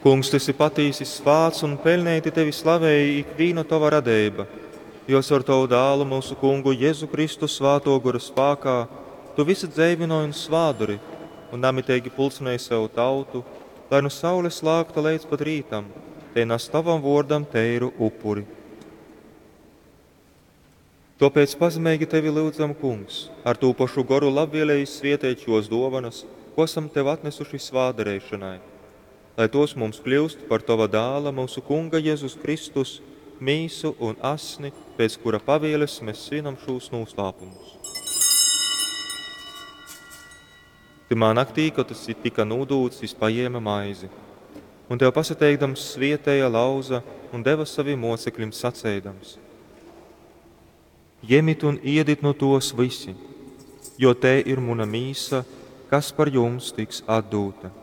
Kungs, tu esi patīsi svāts un peļneiti tevi slavej ikvīna tova radeiba, jo caur tovu Dālu, myusu Kungu Jezu Kristu, Svātō Gora spākā tu vysu dzeivynoj un svātdori un namiteigi pulcynej sev tautu, lai nu saules lākta leidz pat rītam, tei nas tovam vōrdam teiru upuri. Tōpēc pazemeigi tevi lyudzam, Kungs, ar tū pošu Goru labvieleji svieteit šōs dōvonas, kū asam tev atnesuši svātdareišonai, lai tōs mums kļyust par tova Dāla, myusu Kunga Jezus Kristus, mīsu un asni, pēc kura pavieles mes svinam šūs nūslāpumus. Tymā naktī, kod tas tika nūdūts, jys pajēme maizi. Un tev pasateikdams svietēja, lauza un deva savim mōceklim saceidams: Jemit un iedit nu tōs vysi, jo tei ir muna mīsa, kas par jums tiks atdūta.